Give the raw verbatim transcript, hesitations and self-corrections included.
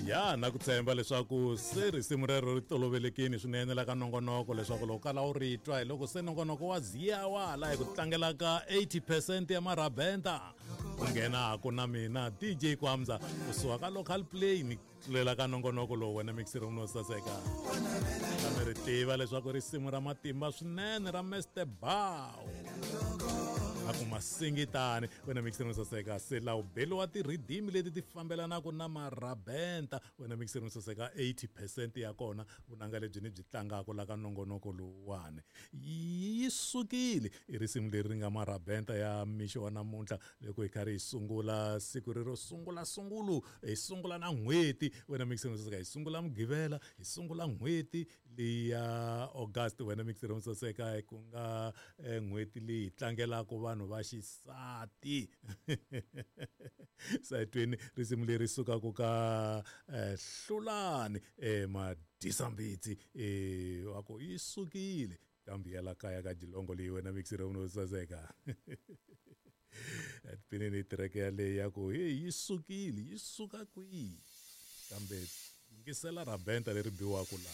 Ya na ku tshemba leswaku se risimu rero ri tolovelekini swinene la ka nongonoko, leswaku loko kala u ri twa hi loko se nongonoko wa ziya wa la hi ku tlangela ka eighty percent ya marabenta ku nghenaku na mina D J Kwamza kusuka ka local play ni tlulela ka nongonoko lowu wena mixer no saseka. Kambe ri tiva leswaku risimu ra matimba swinene ra Mister Bow a ku masingitani wena mixer no saseka, se la u beliwa ti-rhythm leti ti fambelanaka na marabenta wena mixer no saseka. eighty percent ya kona vunanga lebyi ni byi tlangaka la ka nongonoko lowuwani yi sukile i risimu leri ri nga marabenta ya mixo wa namuntlha loko hi karhi hi sungula siku rero sungula sungulu hi sungula na n'hweti wena mixer no saseka, hi sungula Mugqivela, hi sungula n'hweti leyi ya August wena mixer no saseka, ku nga eh, n'hweti leyi hi tlangelaka vanhu va xisati. Sayitweni risimu leri sukaka ka eh, Hlulani eh, Madisambitsi eh, wa ku yi sukile kambe ya la kaya ka jilongo leyi wena mixer no saseka. Tipinini tireke yaleyi ya ku hey yi sukile yi suka kwihi, kambe yingisela rabenta leri biwaka laha.